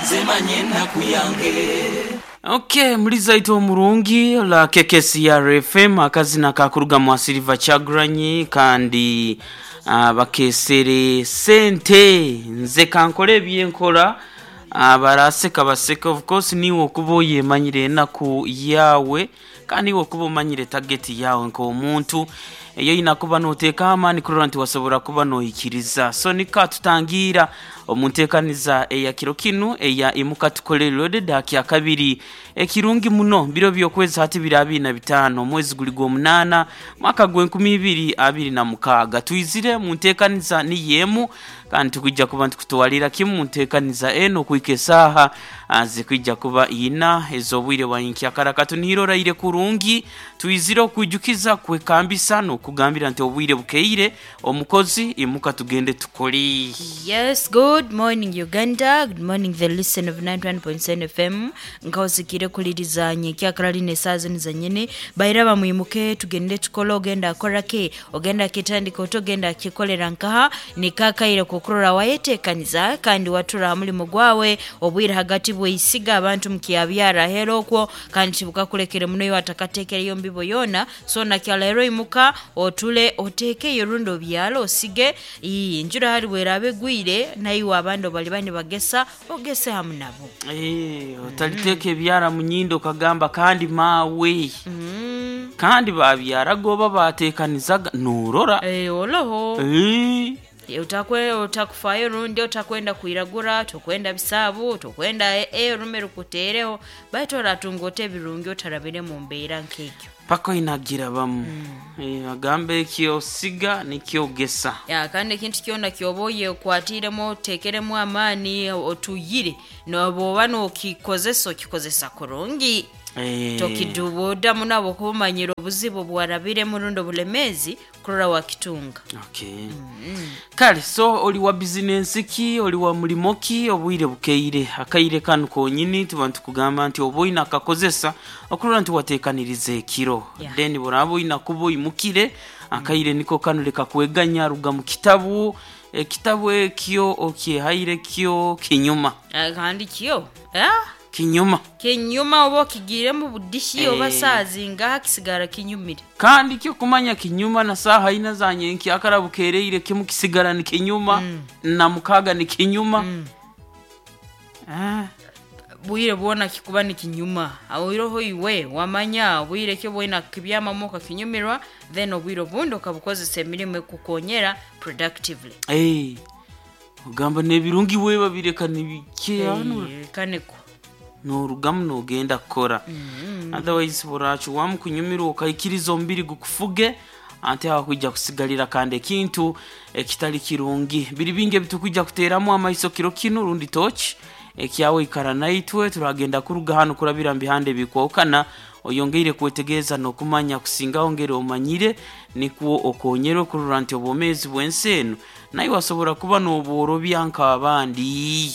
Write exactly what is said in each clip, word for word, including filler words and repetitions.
Nze manye ennaku yange. Okay, mulizaito omurungi la K K C R F M, akazina kakuruga mwa Silver Kyagulanyi kandi uh, bakesere sente. Nze kankole ebyenkola, abaraseka baseka. Of course niwe okuba oyemanyire enaku yawe kandi iwe okuba omanyire target yawe nk'omuntu eyo oyina kuba noteeka amaani kurora nti wasobora kuba noikiriza. So nika tutangira omu nteekaniza eya kiro kinu eya Imuka Tukole Loaded akya kabiri. Ekirungi muno, biro byokwezi hati biri abiri na bitaano, omwezi guli gw'omunaana, mwaka gw'enkumi ibiri abiri na mukaaga. Twizire mu nteekaniza niyo emu kandi tukwijja kuba ntukutwalira kimu mu nteekaniza eno okuhika esaaha ah, zikwijja kuba ina ez'obwire bwa nkyakara. Katunihire oraire kurungi. Twizire okwijukiza, kwekambisa n'okugambira nti obwire bukeire, omukozi imuka tugende tukole. Yes, good morning, Uganda. Good morning, the listen of ninety-one point seven F M. Nkawusikire kulirizanye kyakarali esaaha zino zanyene baira bamwimuke tugende tukole. Ogenda akorake, ogenda kitandika oti, ogenda akikolera nkaha, nikakaire kukurora wayetekaniza kandi watura ha mulimu gwawe. Obwire hagati bweisiga abantu mukyabyara hera okwo kandi tibukakulekere muno iwe atakatekereyo mbibo yona. So nakyalero imuka otule otekeyo rundi obyalo osige. Ii, enjura hari bweraaba egwire naiwe abandi bali bani bagesa ogese hamu nabo. Eh, otaliteeka ebyara mu nyindo okagamba kandi maawe kandi babyaraga oba bateekanizaga norora. Eh, oloho. Eh, Utakwe utakufayo rundi utakwenda kwiragura, tokwenda bisaabu, tokwenda e orume rukuteereho, baitu oratunga ota ebirungi otarabire mu mbeera nk'egyo. Paka oinagira bamu. Eh, bagamba ekyosiga nikyogesa. Ya, kandi ekintu kyona kyoba oyekwatiiremu oteekeremu amaani otuyire noba nokikozesa okikozesa kurungi. Eh, tokidubuudamu nabo kuba omanyire obuzibu bwarabiremu rundi obulemeezi kurora wakitunga. Okay. Kale so oli wa bizinensi ki, oli wa mulimo ki, obwire bukeire, akaire kanu konyini tuba ntukugamba nti oba oyina akakozesa okurora nti wateekaniriza ekiro. Yeah. Then buraba oyina kuba oyimukire, akaire niko kanu, leka kweganya, ruga mu kitabu, ekitabu ekyo okyehaire kyo kinyuma. Ah, kandi kyo, ah, Kinyuma. Kinyuma oba okigiiremu budishi oba Eh. saazingaha kisigara kinyumire. Kandi kyo kumanya kinyuma na saaha ina za nyenki akara bukereire kimu kisigara ni kinyuma na mukaga ni kinyuma. Ah. Bwire bwona kikuba ni kinyuma awiroho iwe wamanya obwire kyo bwina kibyamamu okakinyumirwa, then obwire obundi okabukozesa emirimu ekukonyera productively. Hey, ogamba nebirungi we babireka nibike hano. Eh, kaneko. Norugamu nogenda kukora, otherwise burachuwamu kunyumirwa okaikiriza omubiri gukufuge ante hakwija kusigalira kandi ekintu ekitali kirungi. Biri bingi ebitukwija kuteeramu amaiso kiro kinu rundi tochi ekyawe ikara naitwe. Turagenda kuruga hano kurabira mu bihande bikwokana oyongeire kwetegereza n'okumanya kusingaho ngeri omanyire nikwo okonyerwe kurora nti obwomeezi bw'ensi eno naye wasobora kuba n'obworobya nk'abandi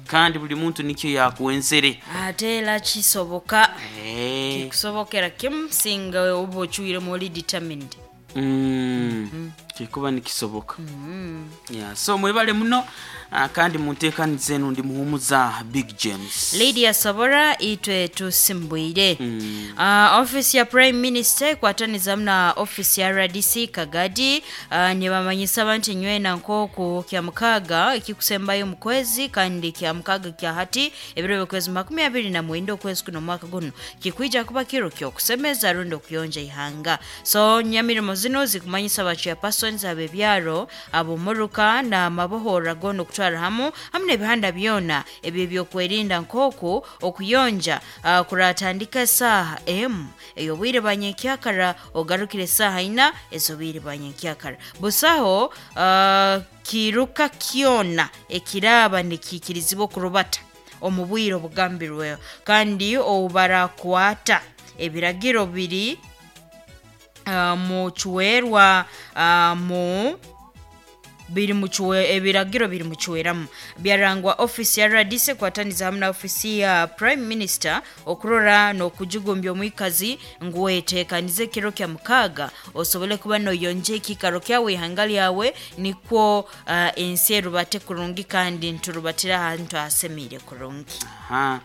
kandi buli muntu nikyo yakwenzere. Ate era kisoboka. Eh, kikusobokera kimu singa oba ocwiremu oli determined. mm, kikuba nikisoboka. Yeah, so mwebale muno. ah, kandi munteekaniza eno ndi muhumuza Big James. Lydia Sabora, itwe tusimbwire. mm. uh, office ya Prime Minister ekwatanizamu na office ya R D C Kagadi uh, nibamanyisa abantu nywena nk'oku kya mukaaga ekikusembayo mu kwezi kandi kya mukaaga kya hati ebiro byokwezi makumi abiri na mwenda okwezi kuno omwaka guno kikwija kuba kiro kyokusemeza rundi okuyonja ihanga. So nyamirimo zino zikumanyisa ba chairpersons ab'ebyaro, ab'omuruka na mabohora goona okutwara hamu hamu n'ebihanda byona ebyo ebyokwerinda nk'oku okuyonja uh, kuratandika esaaha emu ey'obwire bwa nyenkyakara ogarukire esaaha ina ez'obwire bwa nyenkyakara. Busaho uh, kiruka kyona ekiraaba nikiikirizibwa okurubata omu bwire obugambirweho kandi obubarakwata ebiragiro biri uh, mucwerwa uh, mu biri muchwe ebiragiro biri muchweramu byarangwa office ya R D C kwataniza hamwe na office ya Prime Minister okurora nokujugumbya omwikazi nguwetekanize kiro kya mukaga osobole kuba noyonje ekikaro kyawe ihanga lyawe nikwo uh, ensi erubate kurungi kandi nturubatira ahantu ahasemire kurungi. Aha.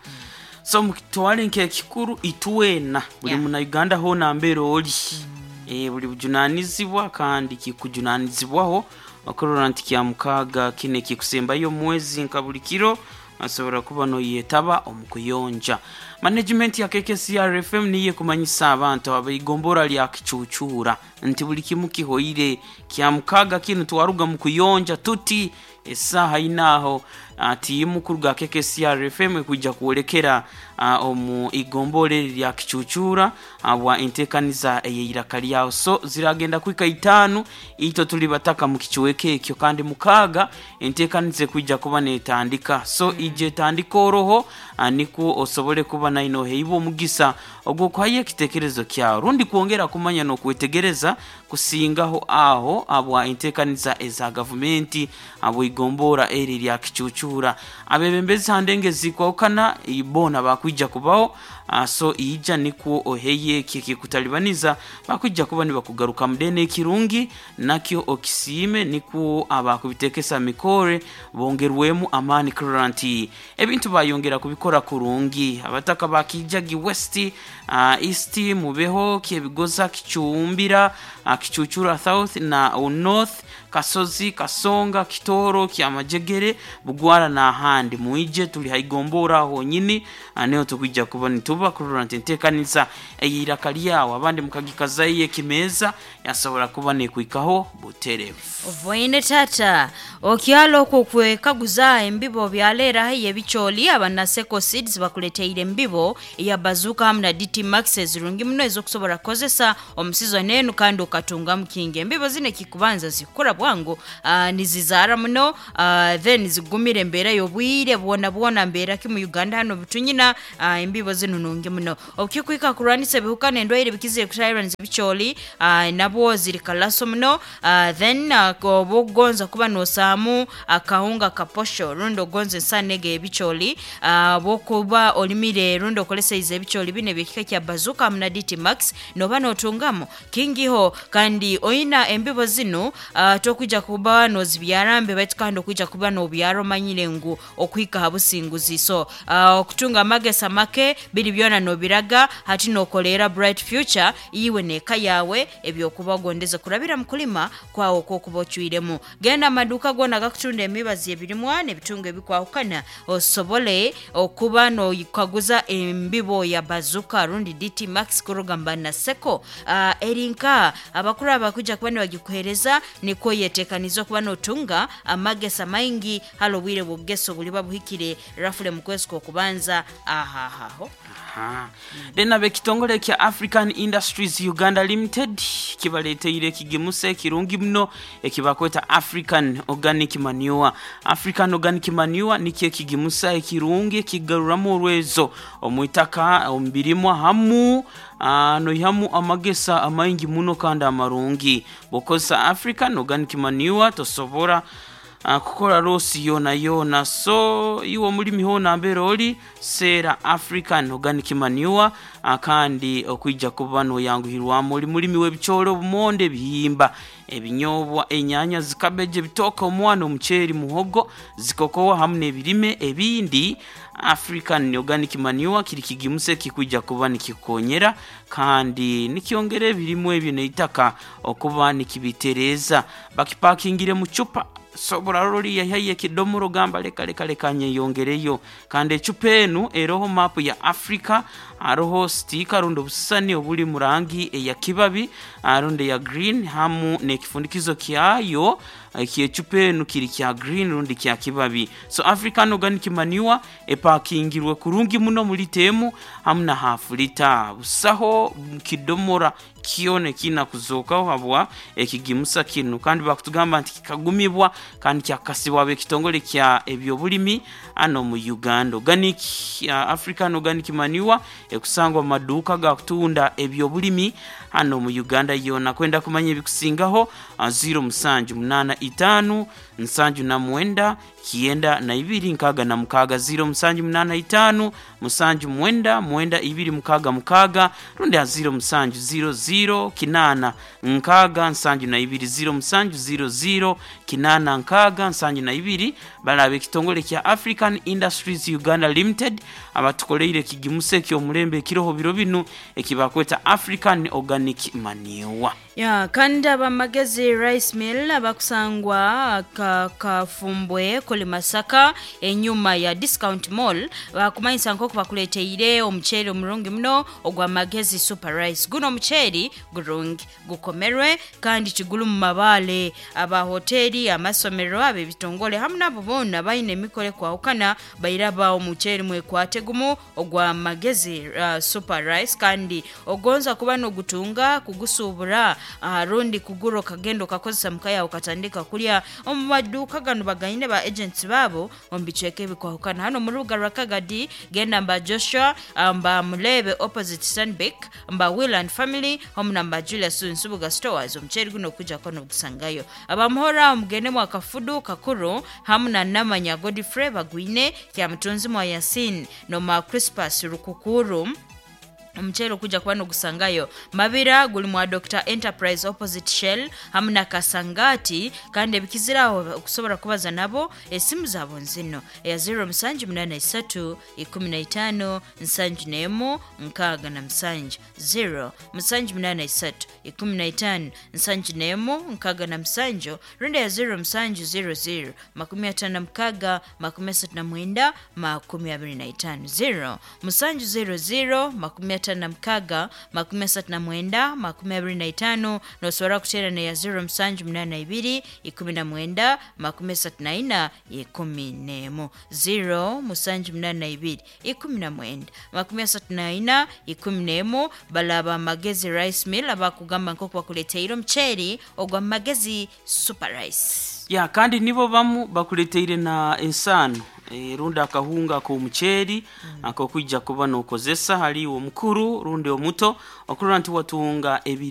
So mukitwale nk'ekikuru itwena buli Yeah. muna Uganda hona mbere oli mm. e, buli bujunanizibwa kandi kikujunanizibwaho okurora nti kya mukaga kine kikusembayo omwezi nka buli kiro asobora kuba noyetaba omu kuyonja. Management ya K K C R F M niye kumanyisa abantu abaigombora lya kicucura nti buli kimu kihoire kya mukaga kinu twaruga mu kuyonja tuti esaha inaho tiimu kuruga K K C R F M kujja kuolekera omu igombore lya kicucura abwa entekaniza eyiraka lyawo so ziragenda kwika itanu ito tuli bataka mu kicuweke ekyo kandi mukaga entekanize kujja kuba netandika so mm. ije tandika oroho niko osobole kuba naino heibo omugisa ogwo kwaye ekitekerezo kyawo rundi kuongera kumanya nokwetegereza kusingaho aho abwa entekaniza eza gavumenti abo igombora eri lya kicucura abebembezi handenge zikwakana ibona bakwijja kubaho so ija niko oheye kikutalibaniza bakwijja kuba nibakugaruka mudene ekirungi nakyo okisime niko abakubitekesa mikore bongerwemu amani kuranti ebintu bayongera kubikora kurungi abataka bakijagi west uh, east mubeho kyebigoza kicumbira uh, kicucura south na north Kasozi Kasonga Kitoro Kyamajegere Bugwara na ahandi muije tuli haigombora honyini aneo tukwijja kuba nituba kurora ntentekanisa eyiraka lyawo abandi mukagikazaye kimeza yasobora kuba nekwikaho buterevu. Voine tata okyalo kwekaguza embibo byalera haye bicholi abanaseko seeds bakuleteire embibo ya bazuka hamna D T Max zirungi muno ezokusobora kozesa omusizo nenu kandi okatunga mukinge embibo zine kikubanza zikura bwangu uh, nizizara muno uh, then zigumire embera yobwire bwona bwona mbera ki mu Uganda hano bitunyina uh, embibo zino nungi muno okikwika kurwanisa ebihuka nendwaire bikizire kutairanza bicholi uh, nabwo ziri kalaso muno uh, then uh, obugonza kuba nosamu akahunga kaposho rundo gonze nsanege ebicholi uh, bokuba olimire rundo okoleseize ebicholi bine byekika kya bazuka mna D T Max noba notungamo kingiho kandi oina embibo zino uh, tokuja kuba nozibyarambe baitu kandi okuja kuba nobyaro manyire ngu okwika habusinguzi so uh, okutunga amagesa make biri byona nobiraga hati nokolera bright future iwe neka yawe ebyokuba gondeze kurabira mukulima kwawo kokuba ocuiremu genda amaduka gona gakutunda emibazi ebirimwa nebitunga ebikwahukana osobole okuba nokaguza embibo ya bazuka rundi D T Max kurugamba na seko uh, erinka abakuru abakuja kuba nibagikuhereza niko yetekanizo kuba notunga amagesa maingi halo bwire bugeso buliba buhikire rafule mukwesko kubanza ahahaho. Aha. Then abekitongole kya African Industries Uganda Limited kibaleteire kigemuse kirungi muno ekibakweta African Organic Manure. African Organic Manure nikye kigemusa ekirungi kigaruramu orwezo omwitaka ombirimwa hamu Uh, noihamu amagesa amaingi muno kandi amarungi bokosa African Organic Manure tosobora uh, kukola losi yona yona so iwo mulimi hona mbere oli sera African Organic Manure uh, kandi okwijja kuba noyanguhirwamu oli mulimi w'ebicholo obumonde ebihimba ebinyobwa enyanya zikabeje bitoka omwana omuceeri muhogo zikokowa hamu n'ebirime ebindi. African Organic Manure kiri kigimuse kikwijja kuba nikikonyera kandi nikyongera ebirimu ebyo neitaka okuba nikibitereza bakipakingire mu cupa sobora roli yahaye kidomoro gamba leka leka leka nyeyongereyo kandi ecupa enu eroho mapu ya Africa aroho stika rundo busani obuli murangi eya kibabi arundo ya green hamu nekifundikizo kyayo ekyecupa enu kiri kya green rundi kya kibabi so African Organic Manure epakingirwe kurungi muno muri temu hamu na half liter busaho kidomora kione kina kuzokaho habwa ekigimusa kinu kandi bakutugamba nti kikagumibwa kandi kyakasibwa abekitongole kya ebyobulimi ano mu Uganda. Organic uh, African Organic Manure ekusangwa mu maduka ga kutunda ebyobulimi hano mu Uganda yona kwenda kumanya ebikusingaho uh, zero musanju munana itaano nsanju na mwenda kyenda na ibiri nkaaga na mukaaga ziro musanju munaana itaano musanju mwenda mwenda ibiri mukaaga mukaaga rundi ha ziro musanju ziro ziro kinaana nkaaga nsanju na ibiri ziro musanju ziro ziro kinaana nkaaga nsanju na ibiri. Balaba ekitongole kya African Industries Uganda Limited abatukoleire ekigimusa eky'omulembe ekiroho biro binu ekibakweta African Organic Manure. Ya, kandi abamagezi rice mill abakusangwa ka, kafumbwe kuli Masaka enyuma ya Discount Mall bakumanyisa nk'oku bakuleteire omuceeri omurungi muno ogwa Magezi Super Rice. Guno omuceeri gurungi, gukomerwe kandi tiguli mu mabaale. Abahoteri, amasomero, ab'ebitongole hamu nabo boona baine emikoro ekwahukana bairaba omuceeri mwekwate gumu ogwa Magezi uh, Super Rice. Kandi ogonza kuba n'ogutunga kugusuubura uh, rundi kugura okagenda okakozesa muka yawe okatandika kulya, omu maduuka gano bagaine ba agents baabo omu bicweka ebikwahukana. Hano mu rubuga rwa Kagadi genda mba Joshua, ah, mba Mulebe opposite Stanbic, mba Will and Family omu na mba Julius Nsubuga Stores. Omuceeri guno okujjako n'ogusangayo. Abamuhora omugende mwa Kafudu Kakuru hamu na Namanya Godfrey bagwine kyamutunzi mwa Yasin noma Crispas Rukukuru omuceeri okujja kuba nogusangayo. Mabira guli mwa Doctor Enterprise opposite Shell hamu na Kasangati. Kandi ebikiziraho okusobola kubaza nabo esimu zaabo nzino eya ziro musanju munana isatu ikumi na itaano nsanju n'emu nkaaga na musanju, ziro musanju munana isatu ikumi na itaano nsanju n'emu nkaaga na musanju, rundi ya ziro musanju ziro ziro makumi ataano na mukaaga makumi asatu na mwenda makumi abiri na itaano, ziro musanju ziro ziro makumi ataano na mukaaga makumi asatu na mwenda makumi abiri na itaano. Nosobora kuteera neya ziro musanju munana ibiri ikumi na mwenda makumi asatu na ina ikumi n'emu, ziro musanju munana ibiri ikumi na mwenda makumi asatu na ina ikumi n'emu. Balaba Magezi Rice Mill abakugamba nk'oku bakuleteire omuceeri ogwa Magezi Super Rice. Ya, kandi nibo bamu bakuleteire na ensaano e, rundi akahunga ak'omuceeri mm. ak'okwija kuba n'okozesa hali omukuru rundi omuto okurora nti watunga ebiri.